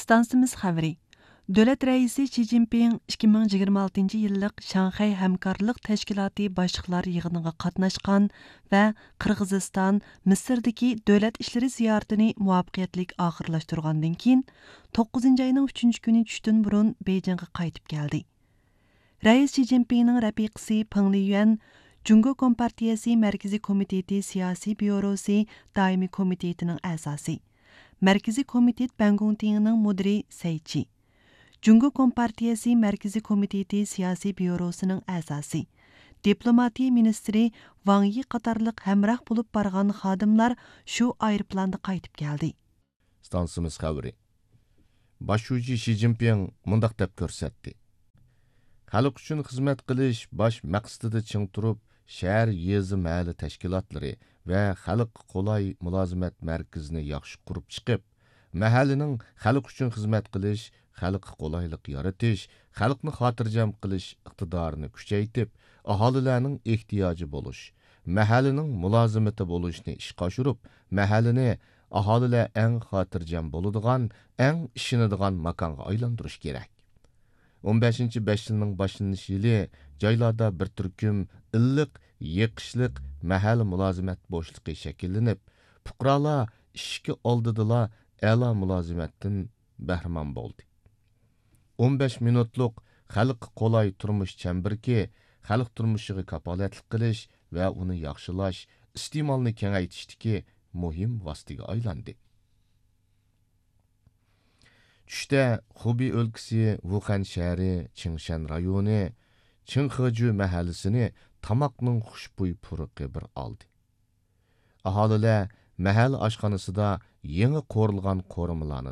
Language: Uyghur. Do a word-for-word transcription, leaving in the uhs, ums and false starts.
ئىستانسىمىز خەۋىرى. دۆلەت رەئىسى شى جىنپىڭ ئىككى مىڭ يىگىرمە ئالتىنچى يىللىق شاڭخەي ھەمكارلىق تەشكىلاتى باشلىقلار يىغىنىغا قاتناشقان ۋە قىرغىزىستان، مىسىردىكى دۆلەت ئىشلىرى زىيارىتىنى مۇۋەپپەقىيەتلىك ئاخىرلاشتۇرغاندىن كېيىن، توققۇزىنچى ئاينىڭ ئۈچىنچى كۈنى چۈشتىن بۇرۇن بېيجىڭغا قايتىپ كەلدى. رەئىس شى جىنپىڭنىڭ رەپىقىسى پېڭ لىيۈەن، جۇڭگو كومپارتىيەسى مەركىزىي كومىتېتى سىياسىي بيۇروسى دائىمىي كومىتېتىنىڭ ئەزاسى، مەركىزىي كومىتېت بەنگۇڭتىڭىنىڭ مۇدىرى سەي چى، جۇڭگو كومپارتىيەسى مەركىزىي كومىتېتى سىياسىي بيۇروسىنىڭ ئەزاسى، دىپلوماتىيە مىنىستىرى ۋاڭ يى قاتارلىق ھەمراھ بولۇپ بارغان خادىملار شۇ ئايروپىلاندا قايتىپ كەلدى. ئىستانسىمىز خەۋىرى. باش شۇجى شى جىنپىڭ مۇنداق دەپ كۆرسەتتى: خەلق ئۈچۈن خىزمەت قىلىش باش مەقسىتىدە چىڭ تۇرۇپ، شەھەر، يېزا، مەھەللە تەشكىلاتلىرى ۋە خەلققە قولاي مۇلازىمەت مەركىزىنى ياخشى قۇرۇپ چىقىپ، مەھەللىنىڭ خەلق ئۈچۈن خىزمەت قىلىش، خەلققە قولايلىق يارىتىش، خەلقنى خاتىرجەم قىلىش ئىقتىدارىنى كۈچەيتىپ، ئاھالىلەرنىڭ ئېھتىياجى بولۇش، مەھەللىنىڭ مۇلازىمىتى بولۇشنى ئىشقا ئاشۇرۇپ، مەھەللىنى ئاھالىلەر ئەڭ خاتىرجەم بولىدىغان، ئەڭ ئىشىنىدىغان ماكانغا ئايلاندۇرۇش كېرەك. ئون بەشىنچى بەش يىلنىڭ باشلىنىش يىلى جايلاردا بىر تۈركۈم ئىللىق، يېقىشلىق مەھەللە مۇلازىمەت بوشلۇقى شەكىللىنىپ، پۇقرالار ئىشىكى ئالدىدىلا ئەلا مۇلازىمەتتىن بەھرىمەن بولدى. ئون بەش مىنۇتلۇق خەلققە قولاي تۇرمۇش چەمبىرىكى خەلق تۇرمۇشىغا كاپالەتلىك قىلىش ۋە ئۇنى ياخشىلاش، ئىستېمالنى كېڭەيتىشتىكى مۇھىم ۋاسىتىگە ئايلاندى. چۈشتە خۇبېي ئۆلكىسى ۋۇخەن شەھىرى چىڭشەن رايونى چىڭخېجۈ مەھەللىسىنى تاماقنىڭ خۇشبۇي پۇرىقى بىر ئالدى. ئاھالىلەر مەھەللە ئاشخانىسىدا يېڭى قورۇلغان قورۇمىلارنى